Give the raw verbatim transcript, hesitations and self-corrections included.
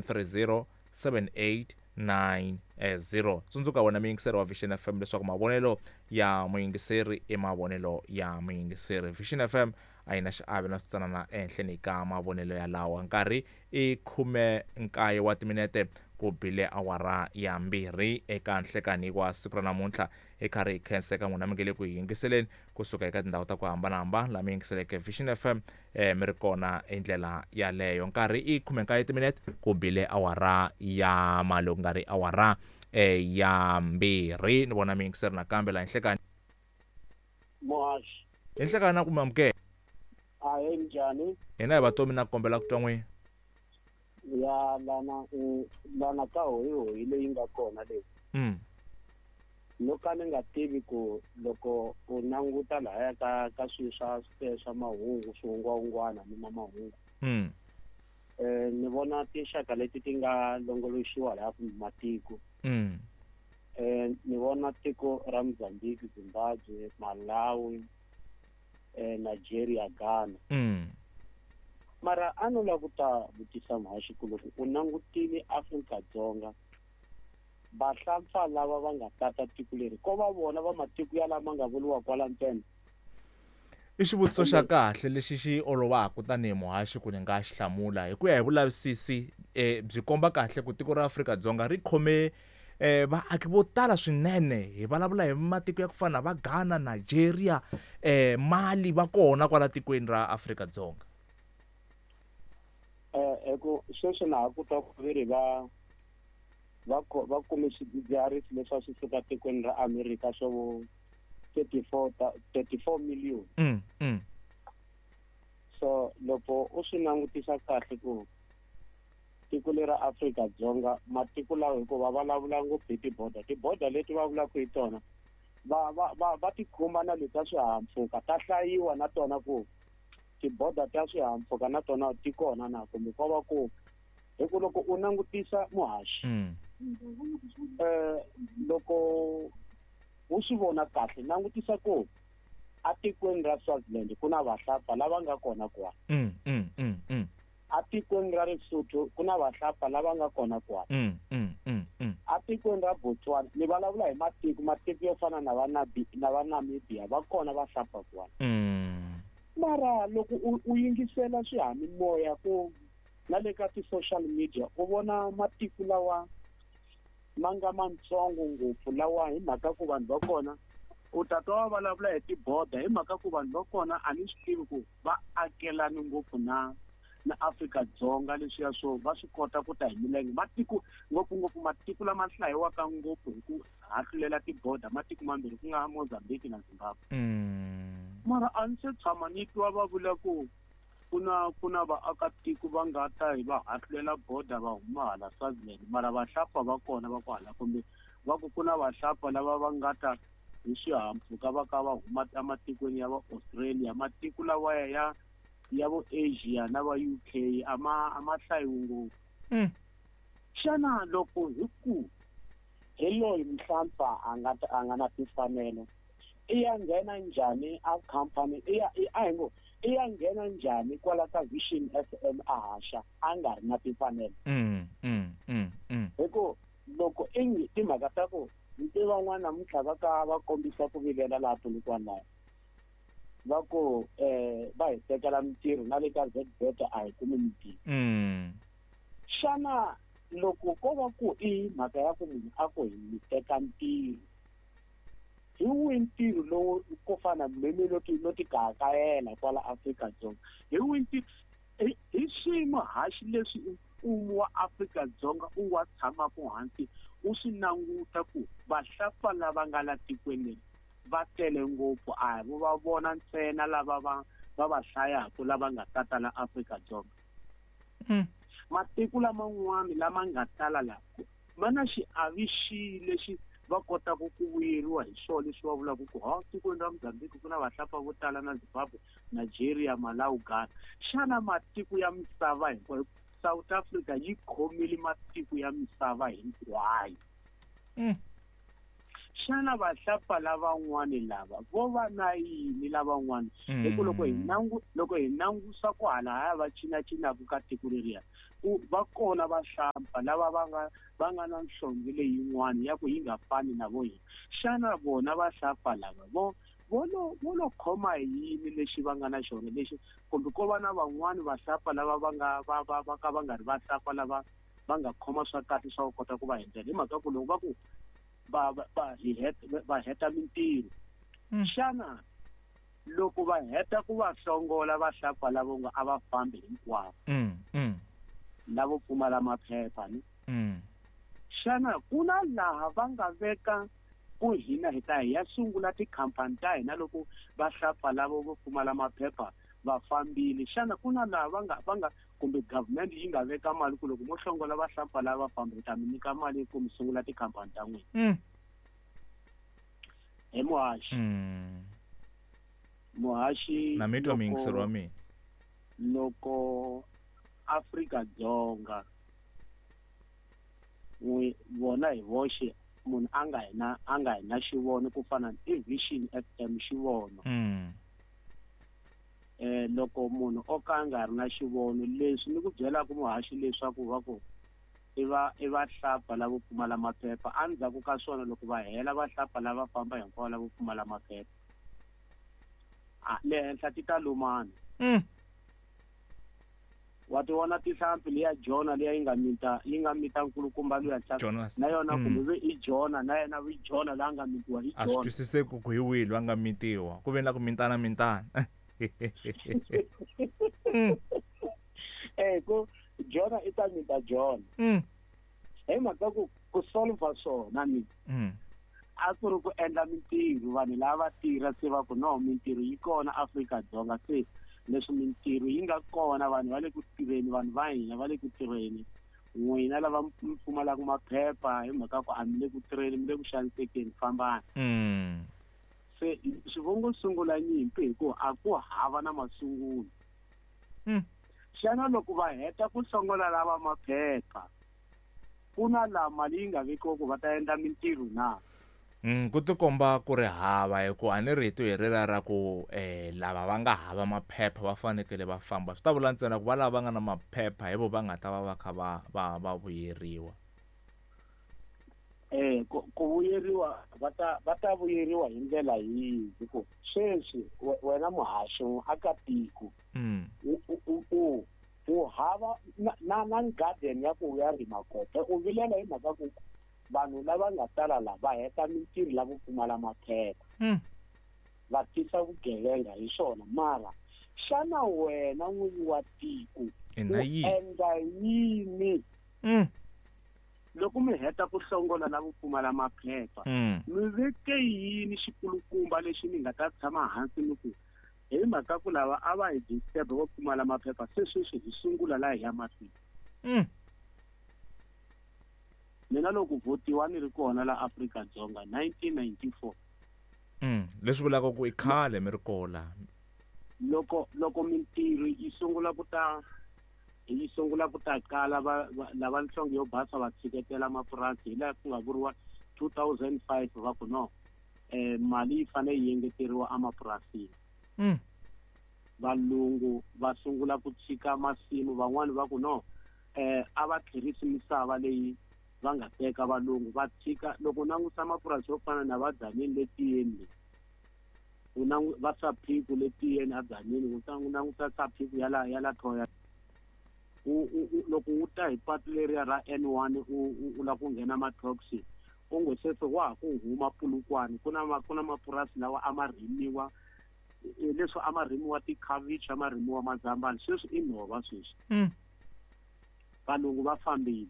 three zero seven eight nine zero. Tsundzuka wena muyingiseri wa Vision F M leswaku mavonelo ya muyingiseri i mavonelo ya muyingiseri. Vision F M a yi na xiave na switsanana ehenhleni ka mavonelo ya lawa. Nkarhi i khume nkaye wa timinete ku bile awara ya mbirhi eka nhlekani wa siku ra namuntlha. Hi karhi hi khensa eka n'wina mi nge le ku hi yingiseleni kusuka eka tindhawu ta ku hambanahambana laha mi yingiseleke Vision F M, eh, mi ri kona hi ndlela yaleyo. Nkarhi i khume nkaye timinete ku bile awara ya malo, ku nga ri awara eh, ya mbirhi. Ni vona mi yingiseri nakambe laha nhlekani. Muhaxi. Hi nhlekani na ku mi amukela. Ahee, njhani? Hina hi vatomi na kombela ku twa n'wina. Ya lana, lana ka hoyihoyi leyi nga kona leyi. Mm. No ka ni nga tivi ku loko u languta lahaya ka, ka swilo swa, swa mahungu, swihungwahungwana ni ma mahungu. Mm. Eh, ni vona tinxaka leti ti nga longoloxiwa laha kumbe matiko. Mm. Eh, ni vona tiko ra Mozambique, Zimbabwe, Malawi, eh, Nigeria, Ghana. Mm. Mara a no lava ku ta vutisa muhaxi ku loko u langutile Afrika-Dzonga, vahlampfa lava va nga tata tiko leri, ko va vona va matiko ya lama nga vuriwa kwala ntsena? I xivutiso xa kahle lexi xi olovaka tanihi muhaxi ku ni nga xi hlamula. Hi ku ya hi vulavisisi, eh, byi komba kahle ku tiko ra Afrika-Dzonga ri khome, eh, vaaki vo tala swinene. Hi vulavula hi matiko ya ku fana na va Ghana, Nigeria, eh, Mali va kona kwala tikweni ra Afrika-Dzonga. Eh, hi ku sweswi na ha ku twa ku ve ri va, va ko-, va kume swidzidziharisi leswi a swi suka tikweni ra Amerika swo vo thirty-four ta-, thirty-four million. Mm, mm. So loko u swi langutisa kahle ku tiko leri ra Afrika-Dzonga, matiko lawa hikuva va vulavula ngopfu hi tiboda, tiboda leti va vulaka hi tona va, va, va, va ti khumba na leti ta swihahampfhuka, ta hlayiwa na tona ku tiboda ta swihahampfhuka na tona ti kona na kumbe ko va ku hi ku loko u langutisa muhaxi, Mm. eh, loko u swi vona kahle, langutisa ku atikweni ra Swaziland ku na vahlapfa lava nga kona kwala. Mm, mm, mm, mm. Atikweni ra Lesotho ku na vahlapfa lava nga kona kwala. Mm, mm, mm, mm. Atikweni ra Botswana, ni vulavula hi matiko, matiko yo fana na va Nabi-, na va Namibia, va kona vahlapfa kwala. Mm. Mara loko u, u yingisela swihanimoya ku na le ka ti-social media, u vona matiko lawa ma nga mantsongo ngopfu lawa hi mhaka ku vanhu va kona u ta twa va vulavula hi tiboda, hi mhaka ku vanhu va kona a ni swi tivi ku va akelani ngopfu na, na Afrika-Dzonga, leswiya swo va swi kota ku ta hi milenge. Matiko ngopfungopfu matiko lama hlayiwaka ngopfu hi ku hahlulela tiboda, matiko mambirhi ku nga Mozambique na Zimbabwe. Mm. Mara a ni se tshama ni twa va vula ku ku na, ku na vaakatiko va nga ta hi va hahlulela boda va huma hala Swaziland, mara vahlapfa va kona va kwala, kumbe va ku ku na vahlapfa lava va nga ta hi swihahampfhuka va ka va huma ematikweni ya va Australia, matiko lawa ya, ya vo Asia na va U K a ma, a ma hlayiwi ngopfu. Mm. Xana loko hi ku hi loyi mhlampfa a nga ta, a nga na timfanelo, i ya nghena njhani a company, i ya, i, a hi ngo, i ya nghena njhani kwala ka Vision F M a haxa a nga ri na timfanelo? Mm, mm, mm, mm. Hi ku loko i ngi timhaka ta ku nti van'wana namuntlha va ka va kombisa ku vilela laha Polokwane laha, va ku, eh, va hi tekela mintirho na le ka Z Bet a hi kumi mintirho. Mm. Xana loko ko va ku i mhaka ya ku munhu a ku hi mi teka ntirho, hi wihi ntirho lowu ko fana mhemi lo ti, lo ti kahakayela kwala Afrika-Dzonga? Hi wihi ntirho? Hi, hi swiyimo haxi leswi mfumo wa Afrika-Dzonga u wa tshamaka hansi u swi languta ku vahlapfa lava nga la tikweni leri va tele ngopfu, a hi vo va vona ntsena lava va, va va hlayaka lava nga tata la Afrika-Dzonga. Mm. Matiko laman'wana lama nga tala la ma na xiave xihi lexi va kotaka ku vuyeriwa hi swona leswi va vulaka ku ha tikweni ra Mozambique ku na vahlapfa vo tala na Zimbabwe, Nigeria, Malawi, Ghana. Xana matiko ya misava hinkwayo, South Africa yi khomile matiko ya misava hinkwayo? Mm. Xana vahlapfa lavan'wani lava vo va na yini lavan'wani? Hi ku loko hi Mm. nangu-, loko hi langusa ku halahaya va cinacinaka ka tiko leriya, ku va kona vahlampfa lava va nga va nga na nhlonge leyin'wana ya ku yi nga fani na vo hina. Xana vona vahlampfa lava vo vo lo vo lo khoma hi yini lexi va nga na xona lexi, kumbe ko va na van'wani vahlampfa lava va nga va va va ka va nga ri vahlampfa lava va nga khoma swa kahle swa ku kota ku va endlela. Hi mhaka ku loko va ku va va va hi heta va heta mintirho, xana loko va heta ku va hlongola vahlampfa lavo nga a va fambi hinkwavo lavo pfumala maphepha ni xana ku na laha va nga veka ku hina hi ta hi ya sungula tikhampani ta hina loko vahlampfa lavo vo pfumala maphepha va fambile? Xana ku na laha va nga va nga kumbe government yi nga veka mali ku loko mo hlongola vahlampfa lava famba hi ta mi nyika mali ku mi sungula tikhampani ta n'wina? Hi muhaxi muhaxi na mi twa muyingiseri wa mina. Loko Afrika-Dzonga n'wi vona hi voxe munhu a nga hina a nga hina xivono ku fana na Vision F M xivono, eh loko munhu o ka a nga ri na xivono leswi ni ku byelaka muhaxi leswaku va ku i va i vahlapfa lavo pfumala maphepha, endzhaku ka swona loko va hela vahlapfa lava famba hinkwavo lavo pfumala maphepha a le henhla ti ta lumana. Wa ti vona tihlampfi liya Jona liya yi nga mita yi nga mita nkulukumba luya na yona kumbe ve i Jona na yena vi Jona la nga mitiwa hi Jona. A swi twisiseki ku hi wihi loyi a nga mitiwa, ku ve na ku mintana mintana. Eh ku Jona i ta mita Jona. Hi mhaka ku ku solve swona ni a ku ri ku endla mintirho vanhu lava tirha se va ku no mintirho yi kona Afrika-Dzonga, se leswi mintirho yi nga kona vanhu va le ku tirheni, vanhu va hina va le ku tirheni, n'wina lava mi pfumalaka maphepha hi mhaka ku a mi le ku tirheni mi le ku xanisekeni fambani. Se swivongo sungula nyimpi hi ku a ku hava na masungulo. Xana loko va heta ku hlongola lava maphepha ku na laha mali yi nga vekiwa ku va ta endla mintirho na? Mm, ku tikomba ku ri hava, hikuva a ni rito hi rera ra ku eh lava va nga hava maphepha va fanekele va famba, swi ta vula ntsena ku va lava va nga na maphepha hi vo va nga ta va va kha va va va vuyeriwa. Eh ku ku vuyeriwa va ta va ta vuyeriwa hi ndlela yihi? Hikuva sweswi wena muhaxi aka tiko u u u hava na na na garden ya ku ya rima kona, u vilela hi mhaka ku vanhu lava nga tala la va heta mintirho lavo pfumala maphepha va tisa vugevenga hi swona. Mara xana wena n'winyi wa tiko u endla yini loko mi heta ku hlongola lavo pfumala maphepha? Mi veke yini xikulukumba lexi mi nga ta tshama hansi mi ku hi mhaka ku lava a va hi disturb vo pfumala maphepha se sweswi hi sungula laha hi ya mahlweni? Mina loko votiwa ni ri kona la Afrika-Dzonga nineteen ninety-four. Mm, leswi vulaka ku i khale mi ri kona. Loko loko mintirho yi sungula ku ta yi sungula ku ta kala va lava nhlonge yo basa va tshiketela mapurasi hi laha ku nga vuriwa two thousand five va ku no eh mali yi fanele yi engeteriwa emapurasini. Mm. Valungu va sungula ku tshika masimu, van'wani va ku no eh a va tlherisi misava leyi va nga teka valungu va tshika. Loko langusa mapurasi yo fana na va Dzaneni le Tiyeni, u nangu va Saphiku le Tiyeni a Dzaneni, u langusa Saphiku ya la ya la Thoya, u loko u ta hi patu leriya ra N one u u lava ku nghena Matoxi u ngo sweswi wa ha ku huma Polokwane, ku na ku na mapurasi lawa a ma rimiwa leswi a ma rimiwa tikhavichi, a ma rimiwa mazambani, sweswi i nhova sweswi. Valungu va fambile.